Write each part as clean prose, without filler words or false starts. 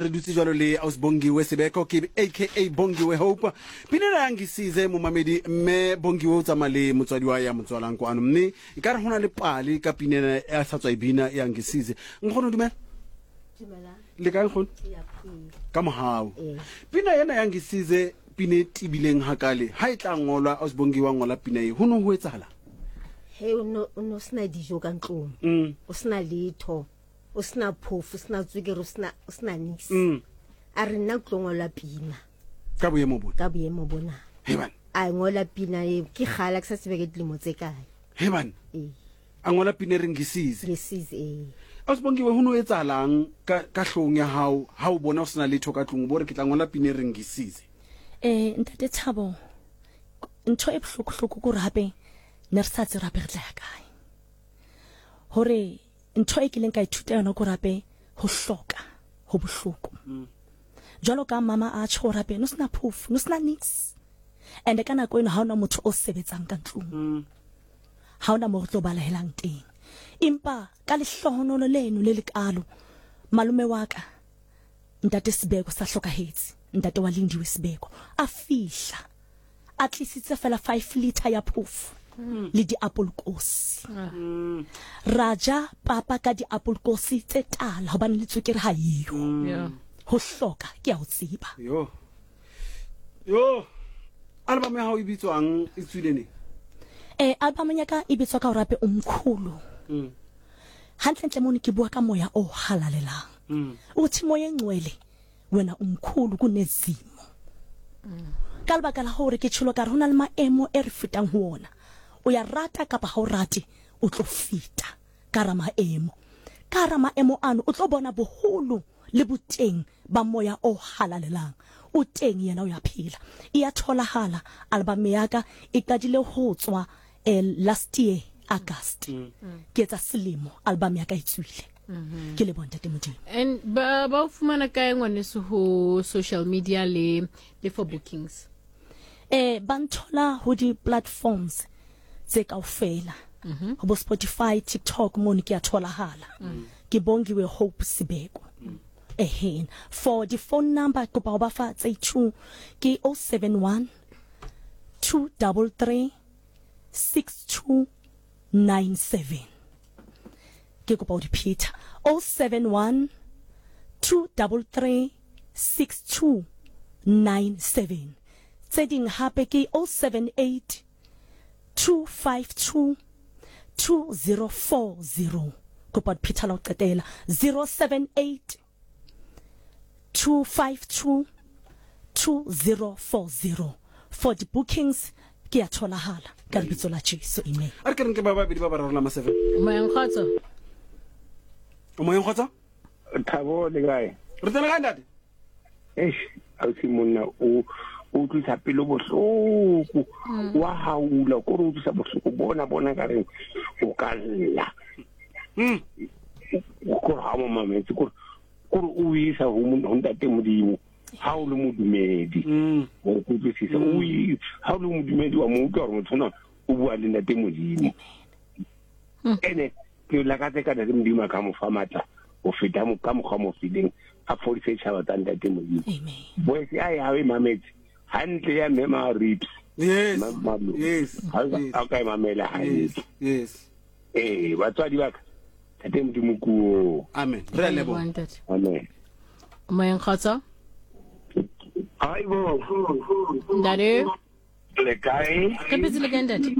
Re dutse jwalo le Aus Bongiwe Sebeko ke aka Bongiwe Hope. Pina ya ngisize momamedi mme Bongiwe o tsamaya le motswadi wa ya motswalang kwano mme e ka re go na le pale ka pina ena ya sa tswa e bina ya ngisize. Nkgono dumela. Dumelang. Le kae nkgono? Ke a phela. Ka mohau. Ee. Pina ena ya ngisize pina e tibileng hakale ha e tla ngolwa Aus Bongiwe wa ngola pina e ho no ho etsahala. He o no o no sena dijo ka ntlong. O sena letho. O sena phofo, o sena tswekere, o sena o sena nix. A re nna ke tlo ngola pina. Ka boemo bona. Ka boemo bona. He bana. A ngola pina e ke kgala ke sa tsebe ke dilemo tse kae. He bana. Ee. A ngola pina e reng ngisize. Ngisize ee. Ausibongiwe ho no etsahalang ka ka hlong ya hao ha o bona o sena letho ka tlung o bo re ke tla ngola pina e reng ngisize. Eh ntate Thabo ntho e bohloko hloko ke hore hape ne re sa tsebe hape re tla ya kae. Hore Ntho e kileng ka ithuta yona ke hore hape ho hloka ho bohloko. Jwalo ka mama a tjho hore hape no sena phofu, no sena nix. And ka nako eno ha ona motho o sebetsang ka ntlong. Ha ona mo re tlo balehelang teng. Empa ka lehlohonolo leno le lekalo malome wa ka ntate Sibeko sa hlokahetse, ntate wa Lindiwe Sibeko a fihla a tlisitse fela 5 liter ya phofo le diapolkosi. Ra ja papa ka diapolkosi tse tala hobane le tswekere ha eyo. Yeah. Ho hloka ke a o tseba. Yo. Yo. Album ya hao e bitswang e tswile neng? Eh album ya ka e bitswa ka hore hape umkhulu. Hantlentle mono ke bua ka moya o halalelang. Uthi moya engcwele Wena o mkhulu kunezimo. Ka lebaka la hore ke tjholo ka re ho na le maemo e re fetang ho ona. O ya rata kapa ha o rate, o tlo feta ka hara maemo. Ka hara maemo ano o tlo bona boholo le boteng ba moya o halalelang. O teng yena o ya phela. E ya tholahala album ya ka e qadile ho tswa eh, last year August. Ke etsa selemo album ya ka e tswile. Ke leboha Ntate Modimo. And ba ba o fumana kae ngwaneso ho social media le le for bookings? Eh ba nthola ho di platforms tse kaofela. Ho bo Spotify, TikTok mono ke a tholahala. Ke Bongiwe Hope Sibeko. Ehena. For di phone number kopa ho ba fa tse two ke 071 233 6297 ke kopa o di pheta 071 233 6297 tse ding hape ke 078 252 2040 kopa o di pheta la ho qetela 078 252 2040 for di bookings ke ya tholahala ka lebitso la Jesu amen. A re ke re nke ba babedi ba bararo la ma 7. Moyeng kgotso. O moyeng kgotso? Thabo le kae? Re tsena kae ntate? Eish, ausi monna o o utlwisa pelo bohloko wa haula ko re utlwisa bohloko bona bona ka reng o ka lla kore ga mo mametse kore kore o isa ho ntate modimo ha o le modumedi o kutlwisisa o ha o le modumedi wa mo utlwa gore motho ona o bua le ntate modimo ene Ke lakatsa eka Ntate Modimo a ka mo fa matla ho feta ka mokgwa mo fileng a fodise tjhaba tsa Ntate Modimo. Voice ya ya e mametse hantle ya mme ma ribs. Yes. Yes. Ha ka e mamela hantle. Yes. Eh, batswadi ba ka. Ntate Modimo kuo. Amen. Re a leboha. Amen. Moyeng kgotso. Hayibo. Ntate. Le kae? Re phetse le kae ntate?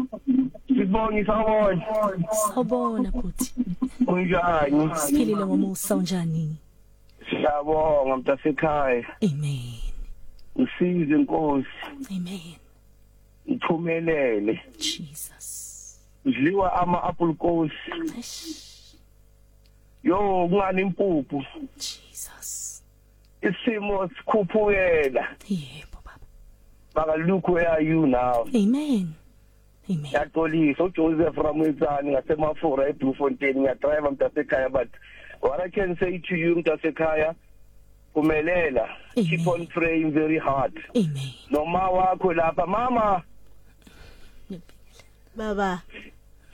Sibongi sawubona. Sawubona bhuti. Unjani? Siphilile ngomusa unjani? Siyabonga mntasekhaya. Amen. Usize Nkosi. Amen. Ngiphumelele. Jesus. Udliwa ama apple kosi. Eish. Yo kungani impuphu? Jesus. Isimo sikhuphukela. Yebo baba. Baba look where are you now? Amen. Amen. Yaxolisa uJoseph Ramwetsani ngasemafura eBloemfontein ngiyadrive mntasekhaya but what I can say to you mntasekhaya phumelela keep on praying very hard. Amen. Noma wakho lapha mama Baba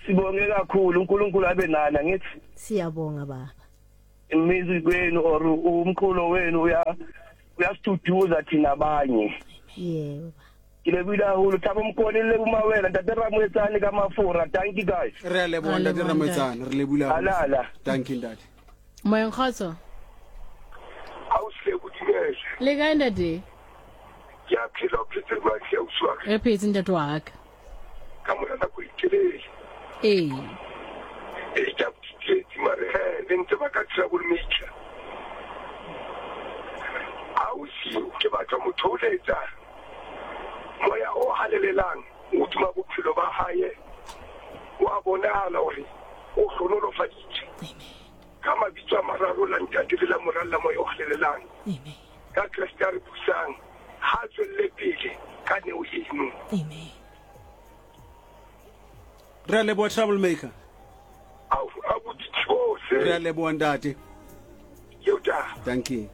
sibonge kakhulu uNkulunkulu abe nani ngithi siyabonga baba. Music wenu or umculo wenu uya uyasiduduza thina abanye. Yebo. Ke lebohile haholo. Thabo Mokone le Mawela, Ntate Ramoetsane ka Mafora. Thank you guys. Re a leboha Re a Ntate leboha, Ramoetsane, re lebohile haholo. Halala. Thank you Ntate. Moyeng kgotso. Ausi Lebo dumela. Le kae ntate? Ke a phela o phetse jwang hle ausi wa ka? Re phetse ntate wa ka. Ka mora nako e telele. Ee. Ee ke a botsietsi mare he le ntse ba ka trouble maker. Ausi ke batla motho o letsa moya o halelelang hodima bophelo ba hae wa bonahala hore o hlonolofaditswe. Ka mabitso a mararo la Ntate le la Mora le la Moya o Halalelang. Amen. Ka Kreste a re busang, ha a tswelle pele ka neo eno. Amen. Re a leboha Troublemaker. Au, abuti tsohle. Re a leboha ntate. Eo taba. Thank you.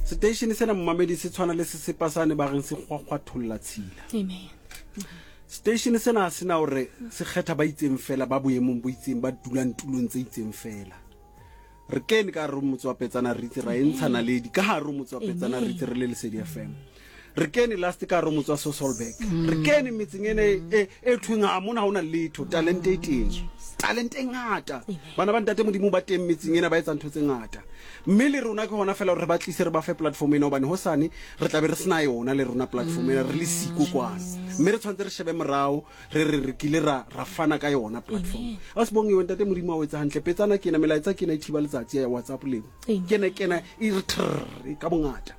Seteishene sena momamedi se tshwana le sesepa sane ba reng se kgwakgwatholla tshila. Amen. Seteishene sena ha se na hore se kgetha ba itseng fela ba boemong bo itseng ba dulang tulong tse itseng fela. Re kene ka hare ho motse wa Petsana re itse ra e ntsha naledi ka hare ho motse wa Petsana re itse re le Lesedi FM. Re kene last ka hare ho motse wa Sasolburg. Re kene metseng ene e e thweng ha mona ha hona letho talente e teng. Talente e ngata. Bana ba ntate Modimo ba teng metseng ena ba etsa ntho tse ngata. Mme le rona ke hona fela hore re ba tlise re ba fe platform ena hobane hosane re tla be re sena yona le rona platform ena re le siko kwana. Mme re tshwanetse re shebe morao re re re kile ra ra fana ka yona platform. A se bongiwe ntate Modimo a o etsa hantle. Petsana ke ena melaetsa ke ena e thiba letsatsi ya WhatsApp leo. Kena kena e re trrr ka bongata.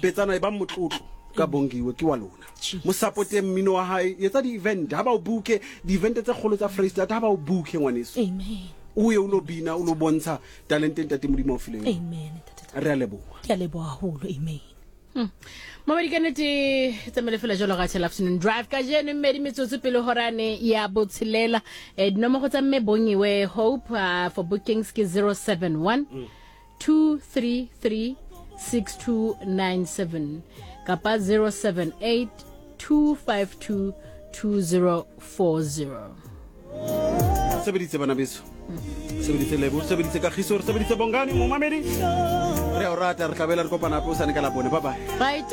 Petsana e ba motlotlo ka Bongiwe ke wa lona. Mo supporteng mmino wa hae, etsa di-event ha ba o booke di-event tse kgolo tsa Freistata ha ba o booke ngwaneso. Amen. O ye o lo bina o lo bontsha talente ntate Modimo a o fileng yona. Amen. Ntate. Re a leboha. Ke a leboha haholo. Amen. Mamedi ka nnete tsamaile fela jalo ga Tshela Afternoon Drive kajeno mmedi metsotso pele horane ya botshelela. Dinomoro tsa mme Bongiwe Hope for bookings ke 071 233 6297 kapa 078 252 2040. Sebeditse bana beso. Sebeditse Lebo, sebeditse Kagiso, re sebeditse Bongani momamedi. Re a o rata, re tla boela re kopana hape hosane ka Labone. Bye bye. Bye.